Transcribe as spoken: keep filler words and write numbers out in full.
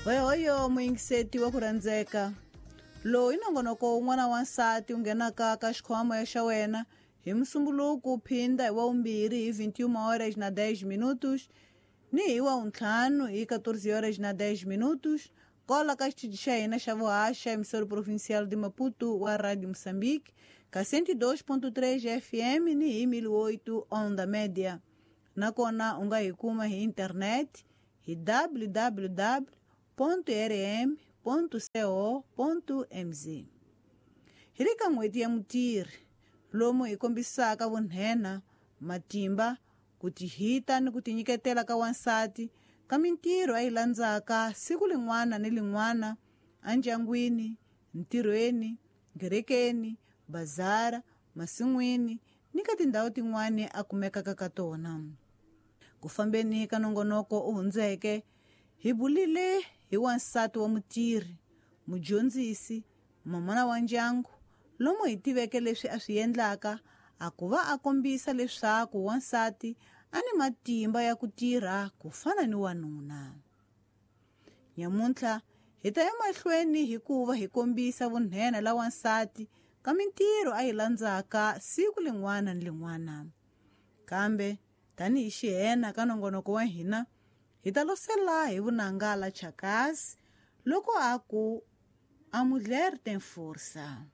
Hoyohoyo muyingiseti wa ku rhandzeka lowu i nongonoko wun'wana wa nsati wu nghenaka ka xikhwama xa wena hi musumbuluku phinda hi wa vumbirhi hi vinte e uma horas na dez minutos ni hi wa vuntlhanu hi catorze horas na dez minutos kola ka xitichi xa hina xa vuhaxa emissora provincial de Maputo wa Rádio Moçambique ka cento e dois ponto três F M ni hi mil e oito onda média. Nakona u nga hi kuma hi internet hi w w w ponto r m ponto co ponto m z. Hi le ka n'hweti ya mutirhi lomu hi kombisaka vunhena, matimba, ku tihita ni ku tinyiketela ka wansati ka mintirho a yi landzaka siku lin'wana ni lin'wana endyangwini, ntirhweni, kerekeni, bazara, masin'wini ni ka tindhawu tin'wani a kumekaka ka tona. Ku fambeni ka nongonoko u hundzeke hi bulile hi wansati wa mutirhi, mudyondzisi, mamana wa ndyangu, lomu hi tiveke leswi a swi endlaka a ku va a kombisa leswaku wansati a ni matimba ya ku tirha ku fana ni wanuna. Nyamuntlha hi ta ya mahlweni hikuva hi kombisa vunhena la wansati ka mintirho a yi landzaka siku lin'wana ni lin'wana. Kambe tanihi xihena ka nongonoko wa hina hi ta losela hi vunanga la Chakazi loko a ku "A mulher tem força".